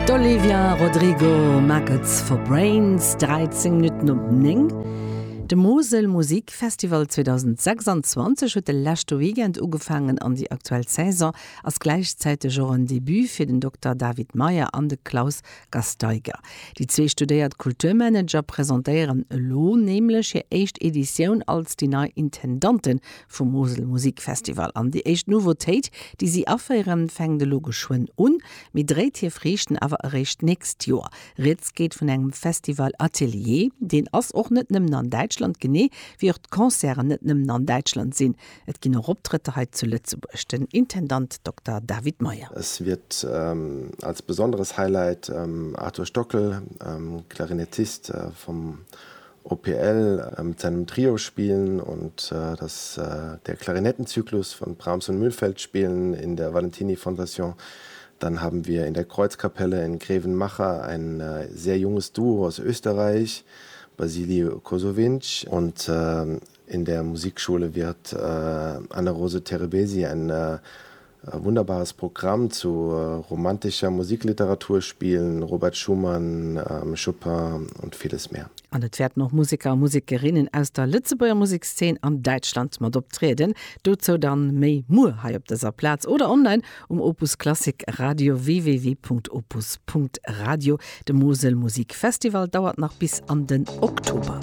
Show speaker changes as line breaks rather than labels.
D'Olivia Rodrigo, Maggots for Brains, 13 Minutten op 9. De Mosel Musik Festival 2026 huet de leschte Weekend ugefaangen an déi aktuell Saison ass gläichzäiteg och en Debut fir den Dokter David Meyer an de Klaus Gasteiger. Déi zwee studéiert Kulturmanager presentéieren elo nämlech hir éischt Editioun als déi nei Intendante vum Mosel Musikfestival. An déi éischt Nouveautéit, déi si aféieren, fänkt elo geschwënn un, mee dréit hir Friichten awer eréischt d'nächst Joer. Rieds geet vun engem Festival Atelier. Deen ass och net nëmmen an Däitschland, genee wéi och d'Concerten net nëmmen an Däitschland sinn. Et ginn och Optrëtter hei zu Lëtzebuerg. Den Intendant Dokter David Meyer.
Es wird als besonderes Highlight Arthur Stockel, Klarinettist vom OPL, mit seinem Trio spielen und das der Klarinettenzyklus von Brahms und Mühlfeld spielen in der Valentini Fondation. Dann haben wir in der Kreuzkapelle in Grevenmacher ein sehr junges Duo aus Österreich, Basili Kosowinsch und in der Musikschule wird Anne-Rose Terebesi ein wunderbares Programm zu romantischer Musikliteratur spielen, Robert Schumann, Chopin und vieles mehr.
An et wäerten och Museker a Musekerinnen aus der Lëtzebuerger Musekszeen an Däitschland mat optrieden. Dozou dann méi muer hei op dëser Plaz oder online um Opus Klassik Radio www.opus.radio. De Mosel Musik Festival dauert nach bis an den Oktober.